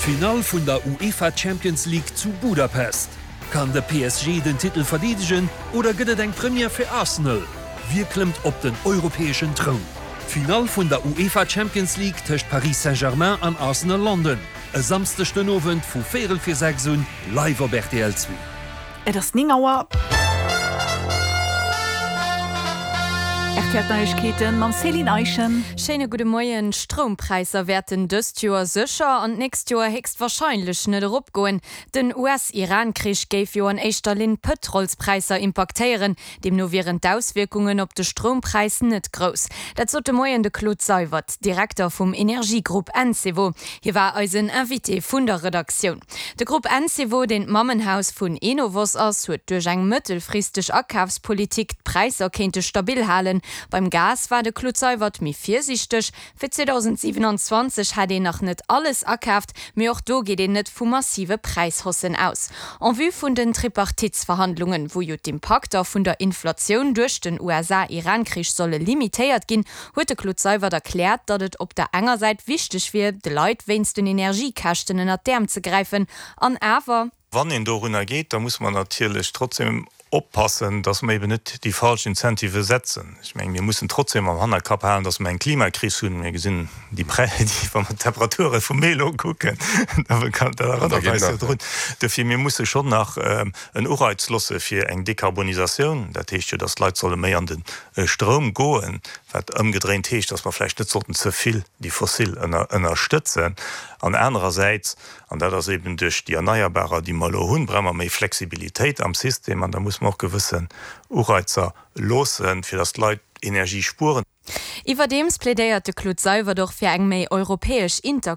D'Finall vun der UEFA Champions League zu Budapest. Kann de PSG den Titel verdeedegen oder gëtt et eng Première fir Arsenal? Wie klëmmt op den europäeschen Troun? D'Finall vun der UEFA Champions League tëscht Paris Saint-Germain an Arsenal London e Samsdeg den Owend vu véierel vir 6 un live op rtl 2. Et ass 9 Auer. Rtl Neiegkeeten mam Céline Eischen. Schéine gudde Moien. D'Stroumpräisser wäerten dëst Joer sécher an d'nächst Joer héchstwarscheinlech net eropgoen. Den US-Iran-Krich géif jo an éischter Linn d'Pëtrolspräisser impaktéieren. Deemno wieren d'Auswierkungen op de Stroumpräis net grouss. Dat sot de Moien de Claude Seywert, Direkter vum Energiegrupp Encevo. Hie war eisen Invité vun der Redaktioun. De Grupp Encevo, deen d'Mammenhaus vun Enovos ass, huet duerch eng mëttelfristeg Akafspolitik d'Präisser kéinte stabil halen. Beim Gas war de Claude Seywert méi virsiichteg. Fir 2027 hätt een nach net alles akaaft, mee och do geet een net vu massive Präishaussen aus. En vue vun den Tripartitsverhandlungen, wou jo d'Impakter vun der Inflatioun duerch den USA-Iran-Krich solle limitéiert ginn, huet de Claude Seywert erkläert, datt et op der enger Säit wichteg wier, de Leit wéinst den Energiekäschten ënnert d'Äerm ze gräifen an awer, Wann een dorunner geet, da muss mer natierlech trotzdem oppassen, dass mer eben net déi falsch Incentivë setzen. Ech mengen, mir mussen trotzdem am Hannerkapp halen, dass mer eng Klimakris hunn. Mir gesinn déi Prä, déi, wa mer d'Temperature vum Mee elo kucken, da dat erënnert eis jo drun. Dofir, mir musse schonn nach en Ureiz losse fir eng Dekarbonisatioun. Dat heescht jo, dass d'Leit solle méi an de Stroum goen, wat ëmgedréint heescht, dass mer vläicht net sollten ze vill déi fossil ënnerstëtzen. An anerersäits, an dat ass eben duerch déi Erneierbarer, déi mer elo hunn, brauche mer méi Flexibilitéit am System an da muss mer och gewëssen Ureizer loossen, fir dass d'Leit Energie spueren. Iwwerdeems plädéiert de Claude Seywert och fir eng méi europäesch Interkonnektioun.